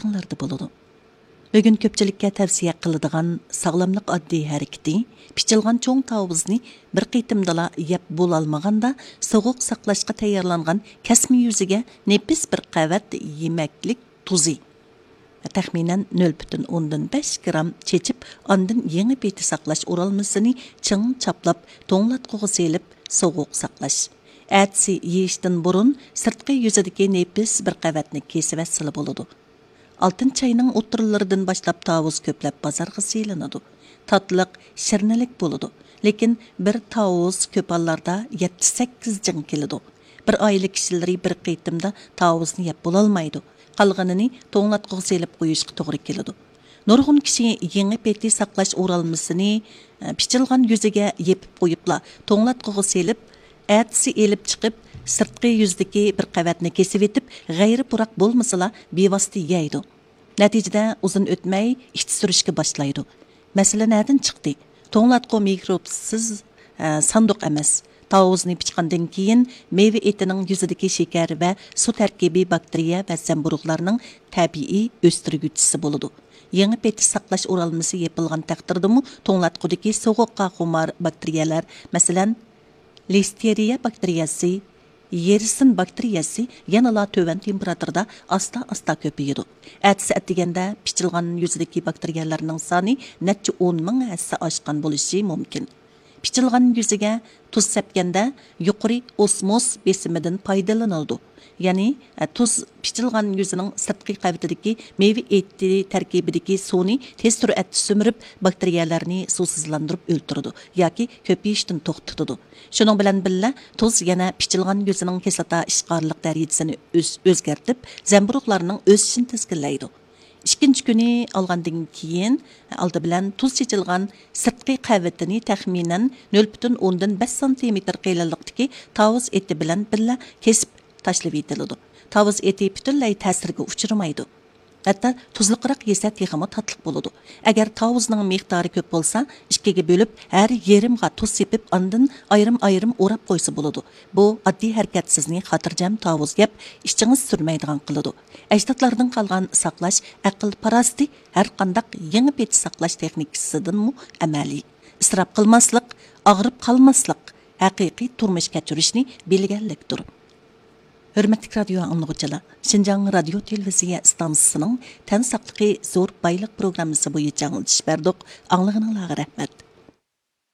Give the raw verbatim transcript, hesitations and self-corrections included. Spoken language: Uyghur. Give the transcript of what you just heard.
دىققىتىڭلاردا بولىدۇ. بۈگۈن كۆپچىلىككە تەۋسىيە قىلىدىغان ساغلاملىق ئاددىي ھەرىكىتى، پىچىلغان چوڭ تاۋۇزنى بىر قېتىمدىلا يەپ بولالمىغاندا، سوغۇق ساقلاشقا تەييارلانغان كەسمە يۈزىگە نېپىز بىر قەۋەت يېمەكلىك تۇزى، تەخمىنەن نۆل پۈتۈن ئوندىن بەش گرام چېچىپ، ئاندىن يېڭى پېتى ساقلاش ئورالمىسىنى چىڭ چاپلاپ، توڭلاتقۇغا سېلىپ، سوغۇق ساقلاش. ئەتىسى يېيىشتىن بۇرۇن سىرتقى يۈزىدىكى نېپىز بىر قەۋەتنى كېسىۋەتسىلا بولىدۇ. ئالتىنچى ئاينىڭ ئوتتۇرىلىرىدىن باشلاپ تاۋۇز كۆپلەپ بازارغا سېلىنىدۇ. تاتلىق، شىرنىلىك بولىدۇ. لېكىن بىر تاۋۇز كۆپ ھاللاردا يەتتە سەككىز جىڭ كېلىدۇ. بىر ئائىلە كىشىلىرى بىر قېتىمدا تاۋۇزنى يەپ بولالمايدۇ. قالغىنىنى توڭلاتقۇغا سېلىپ قويۇشقا توغرا كېلىدۇ. نۇرغۇن كىشى يېڭى پېتى ساقلاش ئورالمىسىنى، ئە، پىچىلغان يۈزىگە يېپىپ قويۇپلا، توڭلاتقۇغا سېلىپ، ئەتىسى ئېلىپ چىقىپ، سىرتقى يۈزدىكى بىر قەۋەتنى كېسىۋېتىپ، غەيرىي پۇراق بولمىسىلا، بىۋاسىتە يەيدۇ. نەتىجىدە ئۇزۇن ئۆتمەي ئىچى سۈرۈشكە باشلايدۇ. مەسىلە نەدىن چىقتى؟ توڭلاتقۇ مىكروبسىز، ئە، ساندۇق ئەمەس. تاۋۇزنى پىچقاندىن كېيىن، مېۋە ئېتىنىڭ يۈزىدىكى شېكەر ۋە سۇ تەركىبى باكتېرىيە ۋە زەمبۇرۇغلارنىڭ تەبىئىي ئۆستۈرگۈچىسى بولىدۇ. يېڭى پېتى ساقلاش ئورالمىسى يېپىلغان تەقدىردىمۇ، توڭلاتقۇدىكى سوغۇققا خۇمار باكتېرىيەلەر، مەسىلەن، لىستېرىيە باكتېرىيەسى، يېرسىن باكتېرىيەسى يەنىلا تۆۋەن تېمپېراتۇرىدا ئاستا-ئاستا كۆپىيىدۇ. ئەتىسى ئەتىگەندە پىچىلغان يۈزىدىكى باكتېرىيەلەرنىڭ سانى نەچچە ئون مىڭ ھەسسە ئاشقان بولۇشى مۇمكىن. پىچىلغان يۈزىگە تۇز سەپكەندە يۇقىرى ئوسموز بېسىمىدىن پايدىلىنىلىدۇ. يەنى، ئە، تۇز پىچىلغان يۈزىنىڭ سىرتقى قەۋىتىدىكى مېۋە ئېتى تەركىبىدىكى سۇنى تېز سۈرئەتتە سۈمۈرۈپ، باكتېرىيەلەرنى سۇسىزلاندۇرۇپ ئۆلتۈرىدۇ ياكى كۆپىيىشتىن توختىتىدۇ. شۇنىڭ بىلەن بىللە، تۇز يەنە پىچىلغان يۈزىنىڭ كىسلاتا ئىشقارلىق دەرىجىسىنى ئۆز-، ئۆزگەرتىپ، زەمبۇرۇغلارنىڭ ئۆسۈشىنى تىزگىنلەيدۇ. ئىككىنچى كۈنى ئالغاندىن كېيىن، ئالدى بىلەن تۇز چېچىلغان سىرتقى قەۋىتىنى تەخمىنەن نۆل پۈتۈن ئوندىن بەش سانتىمېتىر قېلىنلىقتىكى تاۋۇز ئېتى بىلەن بىللە كېسىپ تاشلىۋېتىلىدۇ. تاۋۇز ئېتى پۈتۈنلەي تەسىرگە ئۇچرىمايدۇ. ھەتتا تۇزلۇقراق يېسە تېخىمۇ تاتلىق بولىدۇ. ئەگەر تاۋۇزنىڭ مىقدارى كۆپ بولسا، ئىككىگە بۆلۈپ، ھەر يېرىمغا تۇز سېپىپ، ئاندىن ئايرىم-ئايرىم ئوراپ قويسا بولىدۇ. بۇ ئاددىي ھەرىكەت سىزنى خاتىرجەم تاۋۇز يەپ، ئىچىڭىز سۈرمەيدىغان قىلىدۇ. ئەجدادلاردىن قالغان ساقلاش ئەقىل-پاراسىتى ھەرقانداق يېڭى پېتى ساقلاش تېخنىكىسىدىنمۇ ئەمەلىي. ئىسراپ قىلماسلىق، ئاغرىپ قالماسلىق، ھەقىقىي تۇرمۇش كەچۈرۈشنى بىلگەنلىكتۇر. ھۆرمەتلىك رادىيو ئاڭلىغۇچىلار، شىنجاڭ رادىيو تېلېۋىزىيە ئىستانسىسىنىڭ تەن ساقلىقى زور بايلىق پروگراممىسى بويىچە ئاڭلىتىش بەردۇق. ئاڭلىغىنىڭلارغا رەھمەت.